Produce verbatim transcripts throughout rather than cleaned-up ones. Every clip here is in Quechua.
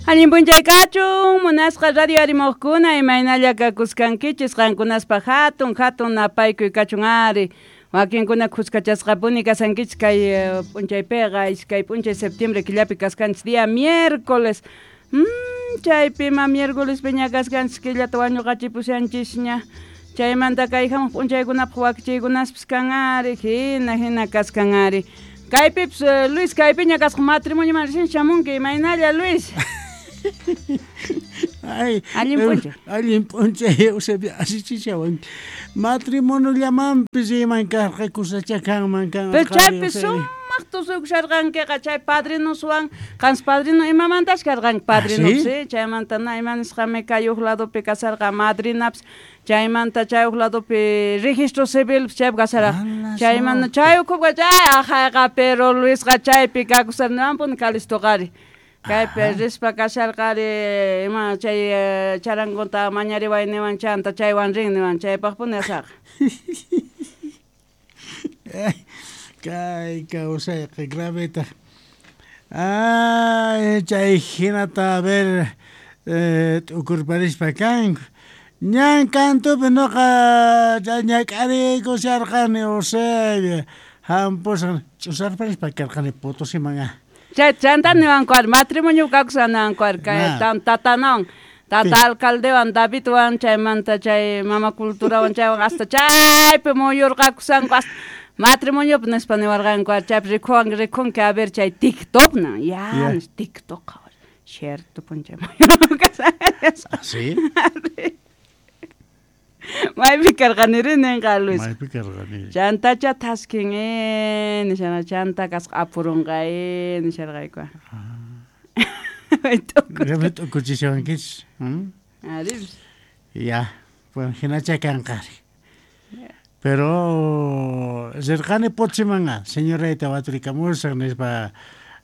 Allin p'unchay kachun, munasqa radio arimuqkuna, imaynalla kakuskankichis qankunaspa hatun hatun napaykuy kachun ari. Wakinkuna khuskachasqapuni kasankichis kay p'unchaypiqa iskay p'unchay septiembre killapi kaskanchis día miércoles. Mm, chaypima miércoles piña kaskanchis killata wañuqachipushanchisña. Chaymanta kay hamuq p'unchaykunapaq wakichiykunaspis kan ari, hina hina kaskan ari. Kaypipas Luis kaypiña kasqa matrimonioman recién shamunki, imaynalla Luis? Ay, allin p'unchay. Allin p'unchay, Eusebio, asichichawan. Matrimoniollamanpis iman karqa kusacha kanman kan. Pero chaypi sumaq tusuykusharqankiqa chay padrinoswan, qansi padrino imamantash karqanki padrinopis, ¿sí? Chaymanta na ima nisqami kay huk ladopi kasarqa madrinapis, chaymanta chay huk ladopi registro civilpis chaypi kasarqa. Chaymanta chay ukhuqa chay ajayqa, pero Luisqa chaypi kakusarniwanpuni kalistuqari. Kaypi rispa kasharqari ima chay charangunta mañariway niwan chanta chaywan rin niwan chaypaqpuni asaqa. Kay kawsayqa graveta. Ay, chay hinata a ver t'ukurparispa kanku. Ñan kantupi nuqa ñak'ariykusharqani Eusebio. Hampusqa ch'usarparispa karqani Potosiman. Chay chanta niwanku ari matrimonio kakusqa niwanku ari kay tatanawan tata alcaldewan Davidwan chaymanta chay mama culturawan chaywan hasta chaypi muyurqakusanku hasta matrimoniopi nispa niwarqanku ari chaypi rikuwanki rikunki a ver chay TikTokna ya TikTok cierto p'unchay muyurqakusan. ¿Sí? Maypi karqaniri ninqa Luis. Maypi karqani. Chantacha thaskin eh nishana chanta kasqa apurunqa eh nisharqayku. Grave t'ukuchishawankichis. Ari. Ya, bueno, hinacha kanqari. Pero rirqani Potosimanqa, señorayta waturikamusaq nispa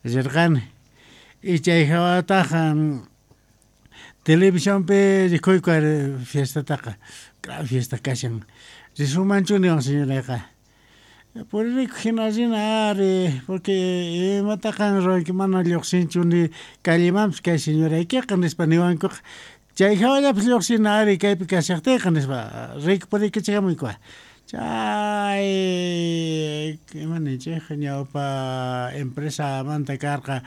rirqani. Y chay hawataqa televisionpi rikuyku ari fiestataqa. Gran fiesta kashan. Risumanchu niwan señorayqa. Puririyku hina rina ari, porque imataqa ruwanki mana lluqsinchu ni callemanpis kay señoraykiqa nispa niwankuqa. Chay hawallapis lluqsina ari kaypi kashaqtiyqa nispa riyku puriykichikamuyku. Chay ima ninchik ñawpa empresamanta karqa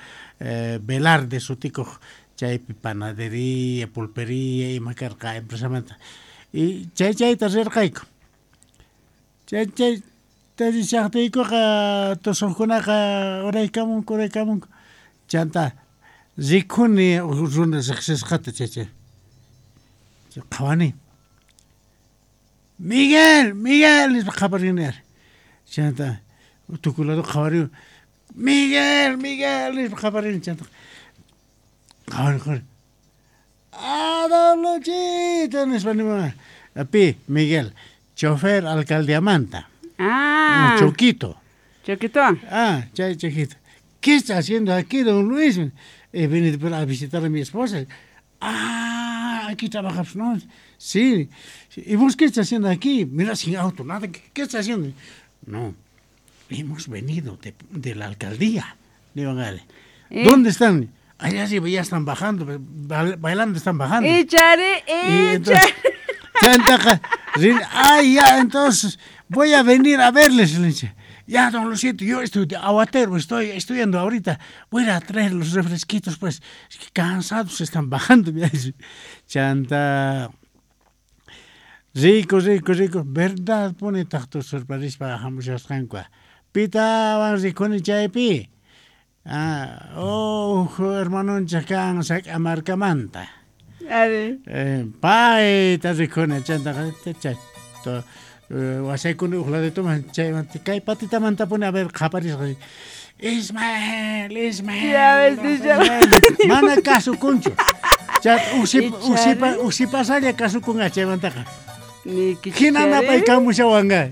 Velarde sutikuq chaypi panadería, pulpería ima karqa empresamanta. Y chay chayta rirqayku. Chay chay rishaqtiykuqa tusuqkunaqa uraykamunku uraykamunku. Chanta rikuni runa riqsisqata chay chay. Qhawani. Miguel, Miguel nispa qaparini ari. Chanta tukuy lado qhawariwan. Miguel, Miguel nispa qaparini chanta. Qhawani qhawani. Ah, don Luchito nispa niwan. Pi, Miguel, chofer alcaldiamanta. Ah. Choquito. Choquito. Ah, chay Choquito. ¿Qué está haciendo aquí, don Luis? He venido a visitar a mi esposa. Ah, aquí trabajas, ¿no? Sí. ¿Y vos qué estás haciendo aquí? Mira, sin auto, nada. ¿Qué, qué estás haciendo? No, hemos venido de, de la alcaldía. Digo, ¿Eh? ¿Dónde están? Allá sí, ya están bajando, bailando están bajando. Echare, echare. Ay, ya, entonces voy a venir a verles. Ya, don Luciento, yo estoy de aguatero, estoy estudiando ahorita. Voy a ir a traer los refresquitos, pues. Es que cansados están bajando. Chanta. Rico, rico, rico. Verdad, pone tacto sorparispa hamushasqanku. Pitawan rikuni chaypi. Ah, oh, hermanonchik kan Sac'amarkamanta. Ari. Eh, payta rikuni chantaqa chay wasaykuni huk ladituman chaymanta kay patitamantapuni a ver qaparisqa. Ismael, Ismael. Mana kasukunchu. Chat usipa usipa usipasalla kasukunqa chaymantaqa. Hina napaykamushawanqa.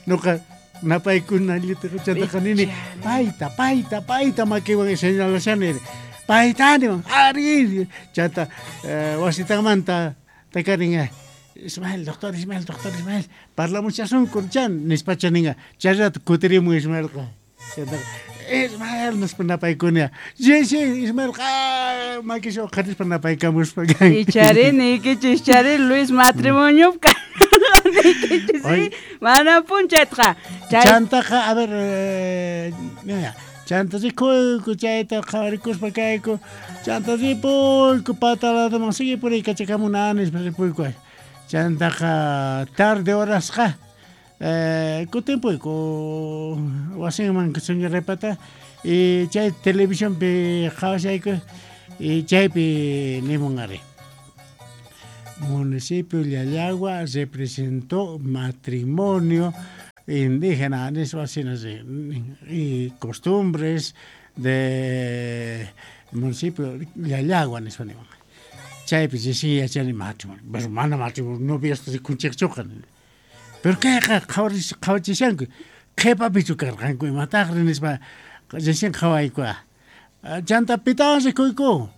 Nuqa napaykuna chantaqa nini payta payta payta makiwan señalashani payta niwan ari chanta wasitanmanta takarinqa Ismael, doctor Ismael, doctor Ismael, parlamushasunku chan nispacha ninqa chay rato kutirimun Ismaelqa. Chantaqa Ismael nispa napaykunia. Sí, sí, Ismael qa makisha uqharispa napaykamuspa. Ichari niykichis chari Luis matrimonio niykichis, sí, mana punchaytaqa. Chay chantaqa, a ver, eh, mira, chanta rikuyku chayta qhawarikuspa kayku, chanta ripuyku pataladoman sigue puriykachakamuna nispa ripuyku. Chantaqa tarde horasqa eh, kutimpuyku wasinman señoraypata y chay televisionpi qhawashayku y chaypi nimun ari. Municipio Llallagua representó matrimonio indígena nispa y costumbres de municipio Llallagua nispa nimun. Chaypi sí yachani matrimonio, pero mana matrimonio noviasta rikunchikchuqa. Pero kayqa qhawachishanku qhipapichu karqanku imataqri nispa recién qhawayku. Chanta pitawan rikuyku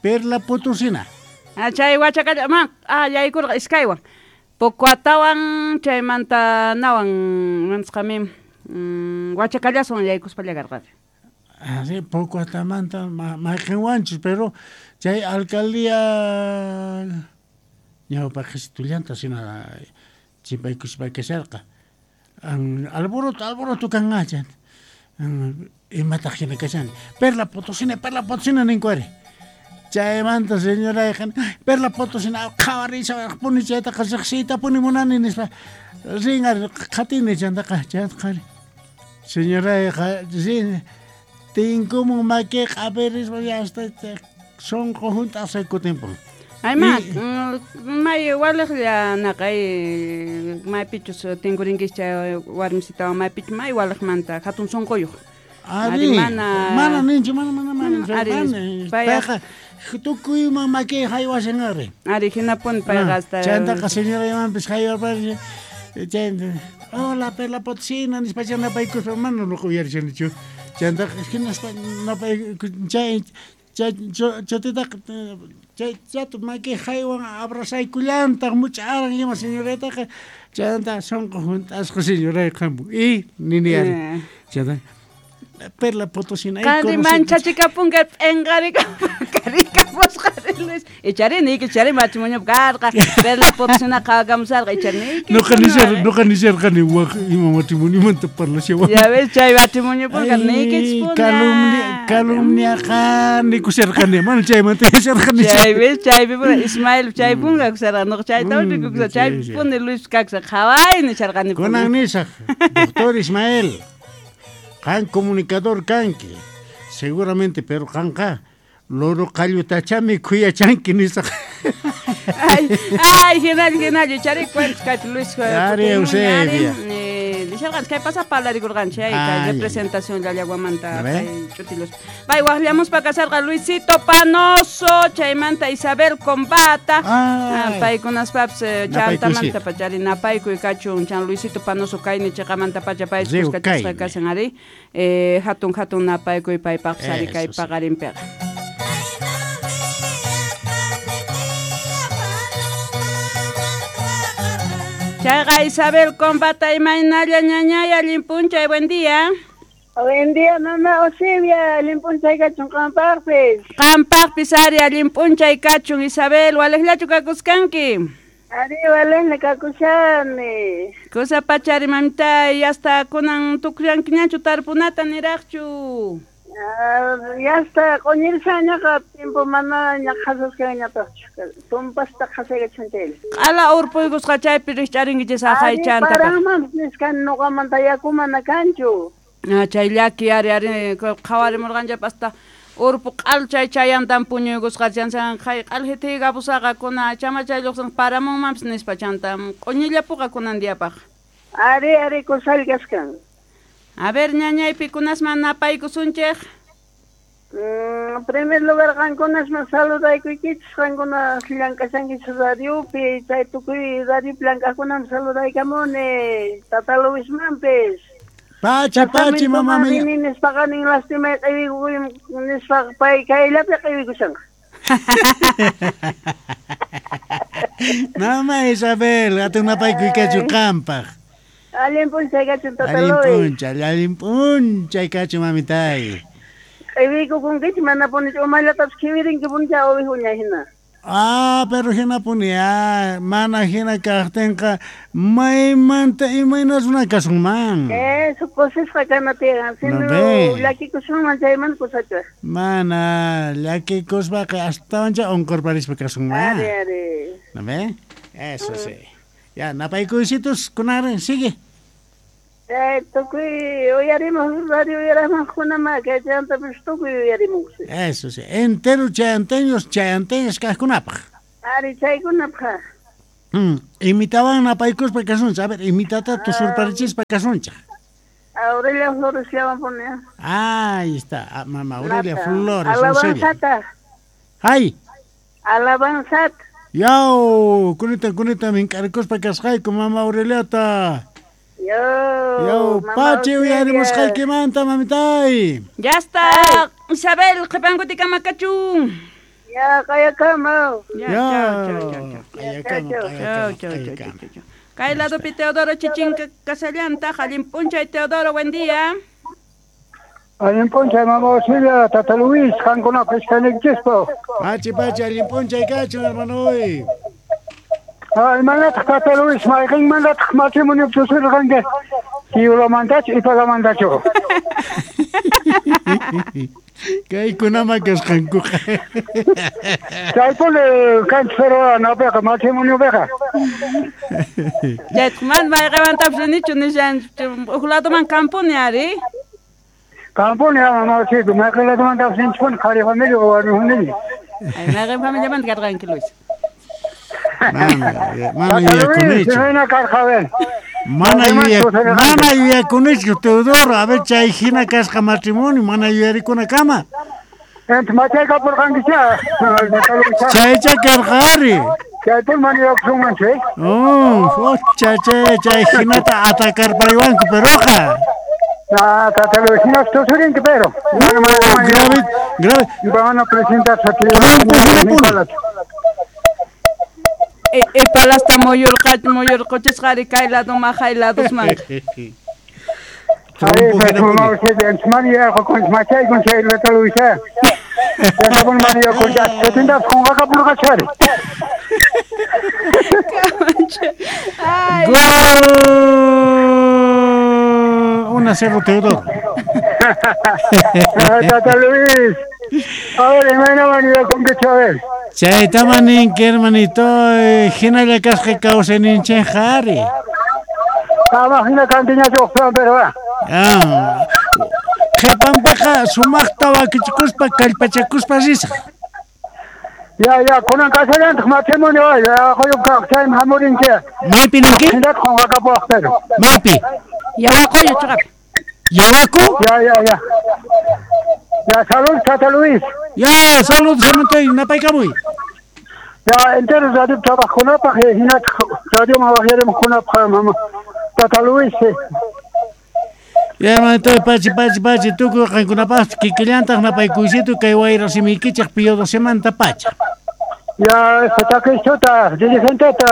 Perla Potosina. Ah, chay wachakalla man ah yaykurqa iskaywan Pocoatawan chaymanta nawan mansqami wachakallaswan yaykuspalla karqa. Ah, sí, Pocoatamanta mayqinwanchus, pero chay alcaldía ñawpaqhitullanta sina chimpaykuspa kasharqa. Alboroto, alboroto kanqa chanta. Imataq hina kashani. Perla Potosina, Perla Potosina ninku ari. Chaymanta señorayqa Perla Potosina qhawarisha puni chaytaqa riqsiytapuni munani nispa rin ari qhatini chantaqa chaytaqa ari. Señorayqa rin tinkumun makiyqa apirispa hasta sunqu hunt'asqa kutimpun. Ay ma, may waliqlla naqay maypichus tinkurinkichis chay warmisitawan maypichu may waliqmanta hatun sunquyuq. Ari, mana mana ninchu, mana mana mana. Payqa tukuyman makiy haywashan ari. Ari hinapuni payqa hasta. Chantaqa señoraymanpis haywarpari chay hola Perla Potosina nispa chay napaykuspa mana nuqa uyarishanichu. Chantaqa hinaspa napaykus chay chay chatitaqa chay chato makiy haywan abrazaykullantaq much'aran ima señoraytaqa chanta sunqu hunt'asqa señorayqa y nini ari. Chanta Perla Potosina. Qanri manchachikapunqa p'inqarikapusqa Luis. Ichari niyki chari matrimonio karqa Perla Potosina qhawakamusarqa ichari niyki. Nuqa nishar nuqa nisharqani waq ima matrimoniomanta parlashawan. Ya ves chay matrimonio punqa niykichis calumnia calumniaqa nikusharqani mana chaymanta yacharqani. Chay ves chaypi puna Ismael chay punqa kusarqa nuqa chayta rikukusqa chay puni Luis kakusqa qhaway nisharqani. Kunan nisaq doctor Ismael. Qan comunicador kanki, seguramente, pero qanqa loro qallutachami khuyachanki nisaq. Ay, ay, hinalla, hinalla, chari cuentos kay Luis. Ari Eusebia. Nisharqanchis kay pasaq parlarikurqanchis ay kay representación Llallaguamanta kay ch'utilos. Pay waqllamuspa kasarqa Luisito Panoso, chaymanta Isabel Combata. Paykunaspapis chantamanta pachari napaykuy kachun chan Luisito Panoso kayni chiqamanta pacha pay kuskachasqa kashan ari. Eh, hatun hatun napaykuy paypaqpis ari kay paqarinpiqa. Chayqa Isabel Combata imaynalla ñañay allin p'unchay, buen día. Buen día, mamá Eusebia, allin p'unchay kachun qampaqpis. Qampaqpis ari allin p'unchay kachun Isabel, waliqllachu kakuskanki? Ari waliqlla kakushani. Kusa pachari mamitay, hasta kunan tukuyankiñachu tarpunata niraqchu. Ya está, q'uñirishañaqa tiempo manaña qhasaskanñataqchu tumpasta qhasaykachan chaylla. Q'ala urpuykusqa chaypi rikch'arinkichis aqaychanta. Paranmanpis nisqani nuqamanta yaku mana kanchu. Ah, chay llaki ari ari qhawarimurqanchaypas hasta urpu q'al chay chayantan puñuykusqa chansan qhay q'al hitiykapusaqqa kuna chamachay lluqsin paramunmanpis nispa chanta q'uñillapuqa kunan diyapaq. Ari ari kusal kaskan. A ver, ñañay, pikunasman napaykusunchik. En primer lugar, qankunasman saludaykuykichis, qankunas llank'ashankichis radiopi, chay tukuy radiopi llank'aqkunaman saludaykamuni, tata Luismanpis. Pachi, pachi, mamá mía. Nispaqa nin lastimay q'iwikuy nispa pay kayllapi q'iwikushanqa. Mamá Isabel, hatun napaykuy kachu qampaq. Allin p'unchay kachun Tata Allin Luis. p'unchay, allin p'unchay kachun mamitay. Q'iwiykukunkichik manapuni umallatapis qhiwirinki puncha ovejuña hina. Ah, pero hinapuni, ah, mana hina kaqtinqa maymanta imayna runa kasunman. Eso kusisqa kana tiyan, No sino ve. llakikusunman chaymanta kusacha. Mana llakikuspaqa astawancha unqurparispa kasunman. Ari, ari. ¿No ve? Eso sí. Ya, napaykuysitus kunari, sigue. Eh, tukuy uyarimuq radio uyarimuqkunama kay chayantapis tukuy uyarimuqsi. Eso sí. Entero chayanteños, chayanteños kaqkunapaq. Ari chaykunapaq. Mm, imitawan napaykuspa kasunchik. A ver, imitata tusurparichispa kasunchik. Aurelia Flores llaman pone. Ahí está, ah, mamá Aurelia Flores. Alabanzata. Ay. Alabanzat. Yaw, kunita kunita mink'arikuspa kasqayku mama Aureliata. Yo. Yaw, pachi uyarimusqaykimanta mamitay. Ya está, Isabel, qhipankutikama kachun. Ya, qayakama. Ya, Ya, chao, chao, chao. qayakama, Chao, qayakama, chao, chao, qayakama. chao, chao. Kay ladopi Teodoro Chichinca kasallantaq, allin p'unchay Teodoro, buen día. Allin p'unchay mama Auxilia, Tata Luis, qankunapaq iskayniykichispa. Pachi, pachi, allin p'unchay kachun, hermanoy. Ah, imanataq Tata Luis, mayqinmantataq matrimonio tusurqanki? Kiulamantachu, Ipalamantachu? Kaykunama kasqankuqa. Chaypuni kanchis pero napiqa matrimoniopiqa. Chaytaq mana mayqinmantapis rinichu nishan huk ladoman kampuni ari. Kampuni mama Auxilia, mayqin ladomantapis ninchikpuni qhari familia o warmi familia. Ay, mayqin familiamanta karqanki Luis. Mana, mana Tata Luis, yuyakunichu. imayna karqa a ver. Mana Mayqinmanchu yuya, tusurqanki? mana yuyakunichu Teodoro, a ver chay hina kasqa matrimonio, mana yuyarikunakama. Entonces machaykapurqankicha, Tata Luis. Chaycha karqa ari. Chaypuni mana yuyakusunmanchu, eh? Oh, chay chay chay hinata atakarpariwanku peroqa. Ah, Tata Luis, hinas tusurinki pero. Mana mana Uh, grave, grave. Van a presentarse aquí. Trompo hinapuni. E, Ipalasta muyurqa muyurquchisqa ari kay ladoman hay ladosman. Ay, Trompo pero hinapuni. mama Auxilia, mana yuyakun, machaykun chay Tata Luis, eh. Chaypuni mana yuyakun, chatintapas qunqakapurqachari. Ay, Gol. Uno a cero Teodoro. Ah, Tata Luis. A ver, imayna mana yuyakunkichu, a ver. Chaytama ninki hermanito, hinalla kasqa kawsayninchikqa ari. Ama hina kantiñachu uqpiwan pero ah. Ah, qhipanpiqa sumaqta wakichikuspa kallpachakuspa risaq. Ya, ya, kunan kasallantaq matrimonio, ay, ya, quyup kaq, chaymi hamurinki. Maypi ninki? Hinataq qunqakapuwaq pero. Maypi? Yawaquyo chiqap. Yawaku? Ya, ya, ya. Ya, salud, Tata Luis. Ya, salud, hermanitoy, napaykamuy. Ya, entero radio trabajkunapaq, hinataq radioman waqyarimuqkunapaq, mama. Tata Luis. eh. Ya, hermanitoy, pachi, pachi, pachi, tukuy qankunapaq kikillantaq napaykuysitu kay wayra simiykichik Pío docemanta pacha. Ya, este takistuta, dirigenteta,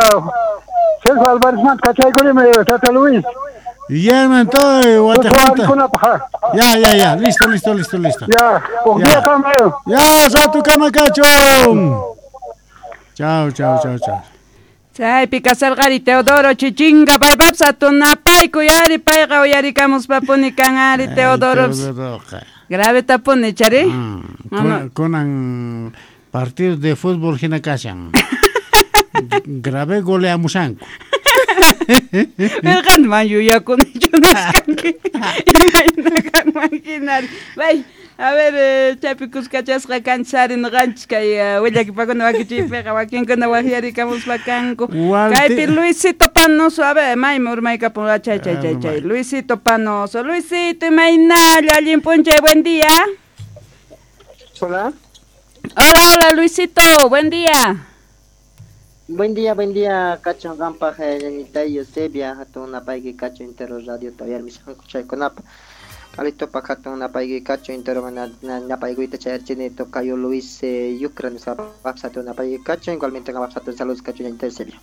Celso Álvarez kachaykunimi, Tata Luis. Ya, hermanitoy, wataqmanta. Tukuy Ya, ya, ya, listo, listo, listo, listo. Ya, huk Ya. día kama. Ya, ratukama kachun. Chao, chao, chao, chao. Chaypi kasarqari Teodoro Chichinga paypapas atunapaykuy ari payqa uyarikamuspapuni kan ari Teodoro. Teodoroqa. Grave tapuni chari. Mm, Mama. kun- Kunan partido de fútbol hina kashan. Grave goleamusanku. Pero qanman yuyakunichu nisqanki. Imayna kanman hinari. Bay, a ver, eh, chaypi kuskachasqa kanchis ari ñuqanchik kay eh, willakipakuna wakichiypiqa wakinkuna waqyarikamuspa kanku. Walti- Kaypi Luisito Panoso, a ver, maymi urmaykapun, ah, chay, chay, chay, chay. Luisito Panoso, Luisito, imaynalla, allin p'unchay, buen día. Hola. Hola, hola, Luisito, buen día. Buen día, buen día, kachun qanpaq ñañitay Eusebia, hatun napayki kachun entero radio tawiyar misqanku chaykunapa. Alitopa hatun napayki kachun entero napaykuyta chayarchini tocayo Luis eh, Yucra nisqapaq hatun napayki kachun, igualmente qanpaq hatun saludos kachun ñañitay Eusebia.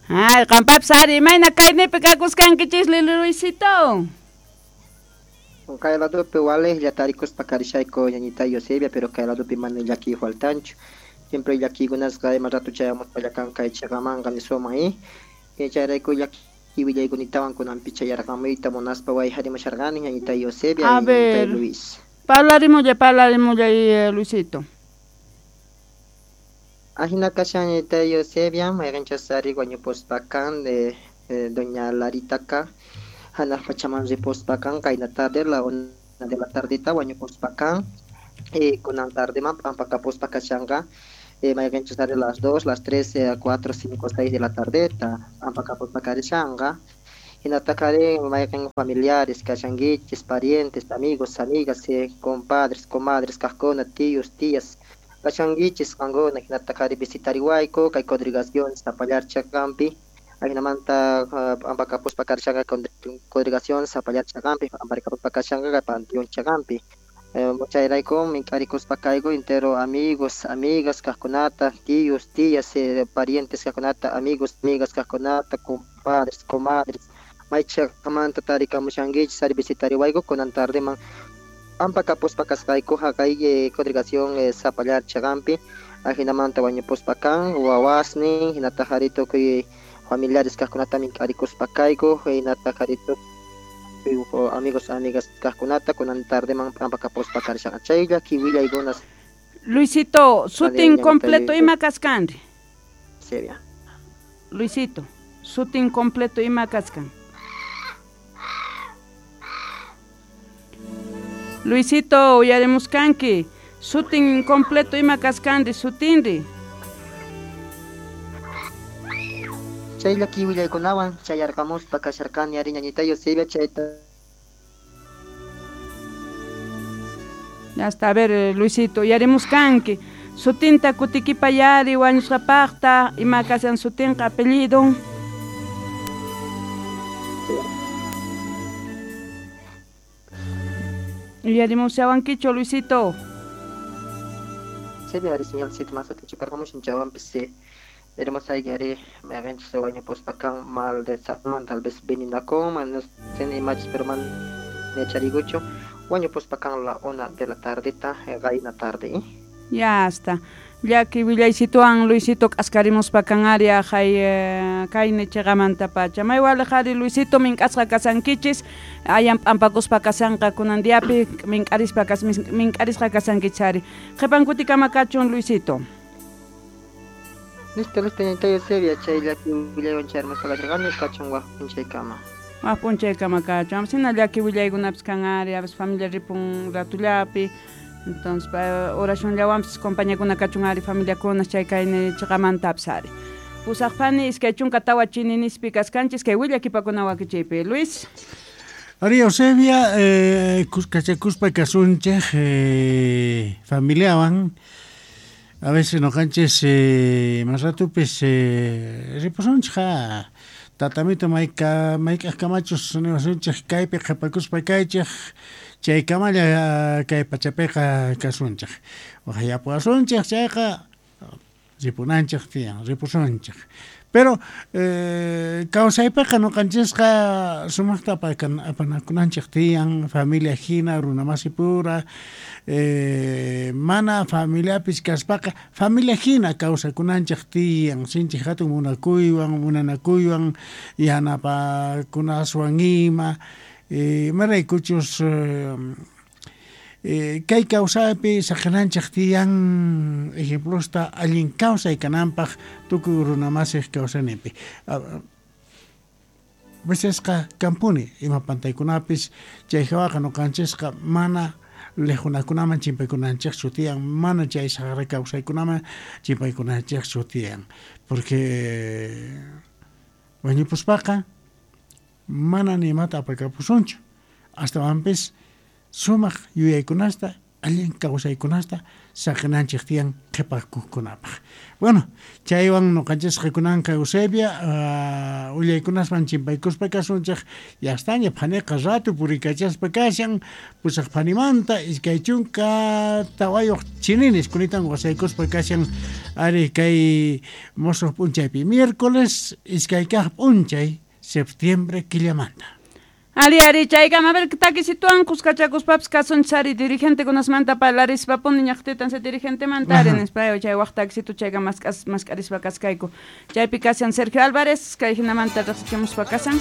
Ay, qampapis ari, imayna kaynipi kakuskankichis Luisito? Kay ladopi walejlla tarikuspa karishayku ñañita Eusebia, pero kay ladopi mana llaki faltanchu. Siempre llakikunasqa ima rato chayamuspa llakan kay chaqamanqa nisuman eh. Chayrayku llaki willaykunatawan kunanpi chayarqamuyta munaspa wayharimusharqani ñañita Eusebia A ver, Luis. Parlarimulla, parlarimulla eh, Luisito. Ajina kashan ñañita Eusebia, mayqinchas ari wañupuspa kan de eh, doña Larita ka hanaq pachaman ripuspa kan qayna tarde la una de la tardita wañupuspa kan eh, kunan tardeman p'ampakapuspa kashanqa eh, mayqinchus ari las dos, las tres, eh, cuatro, cinco, seis de la tardeta p'ampakapuspa karishanqa hinataqa ari mayqin familiares kashankichis, parientes, amigos, amigas, eh, compadres, comadres kaqkuna, tíos, tías kashankichis qankuna hinataqa ari visitariwayku kay congregación Zapallar chaqampi ajinamanta p'ampakapuspa karishanqa congregación Zapallar chaqampi p'amparikapuspa kashanqa panteón chaqampi chayrayku mink'arikuspa kayku entero amigos, amigas kaqkunata, tíos, tías, eh, parientes kaqkunata, amigos, amigas kaqkunata, compadres, comadres may chaqamanta tarikamushankichis ari visitariwayku kunan tardeman p'ampakapuspa kasqayku haqay eh, congregación eh, Zapallar chaqampi ajinamanta wañupuspa kan wawasnin hinataq ari tukuy familiares kaqkunata mink'arikuspa kayku hinataq ari tukuy amigos, amigas kaqkunata kunan tardeman p'ampakapuspa karishanqa chay llaki willaykunas. Luisito, sutin completo ima kaskanri? Sevia. Luisito, sutin completo ima kaskan? Luisito, uyarimuskanki, sutin completo ima kaskanri, sutinri? Chay llaki willaykunawan chayarqamuspa kasharqani ari ñañita Eusebia chayta. Ya está, a ver, Luisito, uyarimuskanki, sutinta kutikipayari wañusqapaqta, ima kashan sutinqa apellido. Uyarimushawankichu, Luisito? Sevia ari señalcito más atichiparqamushan chaywanpis eh, hermosa ari mayqinchus wañupuspa kan mal de salud, tal vez venenakun, no sé ni machis pero man yacharikuchu wañupuspa kan la una de la tardita qayna tarde eh? Ya está. Llaki willaysituwan Luisito k'askarimuspa kan ari haqay eh, kayni chiqamantapacha. May waliq ari Luisito mink'asqa kasankichis, ayan p'ampakuspa kasanqa kunan diapi mink'arispa kas mink'arisqa kasankichis ari. Qhipan kutikama kachun Luisito. Listo, listo, ñañita Eusebia, chay llaki willaywan chayarmuspa kasharqani kachun waq p'unchaykama. Waq p'unchaykama kachun. Sina llaki willaykunapis kan ari, a veces familia ripun ratullapi. Entonces, oracionllawanpis compañakuna kachun ari familiakuna chay kayni chiqamantapis ari. Pusaqpani iskay chunka tawa chininispi kaskanchis kay willakipakuna wakichiypi. Luis. Ari Eusebia, eh, kuskachakuspa kasunchej eh, familiawan. A veces noqanchis eh, mas ratupis eh, ripusunchej ja. Tatamito mayka mayk'aqkamachus niwasunchej kaypi qhipakuspa kaychej chaykamalla kay pachapiqa kasunchej. Waqyapuwasunchej chayqa ripunanchej tiyan, ripusunchej. Pero eh, kawsaypiqa noqanchisqa sumaqta apanakunanchej tiyan, familia hina, runa masipura, eh, mana familiapis kaspaqa familia hina kawsakunanchej tiyan, sinchi hatun munakuywan, munanakuywan, yanapakunaswan ima, eh, imaraykuchus eh, eh, kay kawsaypi saqinanchej tiyan ejemplosta allin kawsay kananpaq tukuy runa masiq kawsayninpi. Vecesqa kampuni ima pantaykunapis chay hawaqa noqanchisqa mana lejunakunaman chimpaykunanchikchu tiyan, mana chay saqra kawsaykunaman chimpaykunanchikchu tiyan, porque wañupuspaqa mana ni imata apakapusunchu, astawanpis sumaq yuyaykunasta Allin kawsaykunasta saqinanchik tiyan qhipakuqkunapaq. Bueno, chaywan ñuqanchisqa kunanqa Eusebia uh, willaykunasman chimpaykuspa kasunchik yastaña phaniqa ratu purikachaspa kashan pusaq phanimanta iskay chunka tawayuq chininis kunitan wasaykuspa kashan ari kay musuq p'unchaypi miércoles iskay kaq p'unchay septiembre killamanta. Ali, ari, chaykama, a ver, takisituan kuskachakuspapis kasunchis ari dirigentekunasmanta parlarispapuni ñaqtitan se dirigentemanta ari nispa chay waq takisitu chayka mask'as mask'arispa kaskayku. Chaypi kashan Sergio Álvarez, kay hinamanta riqsichimuspa kasan.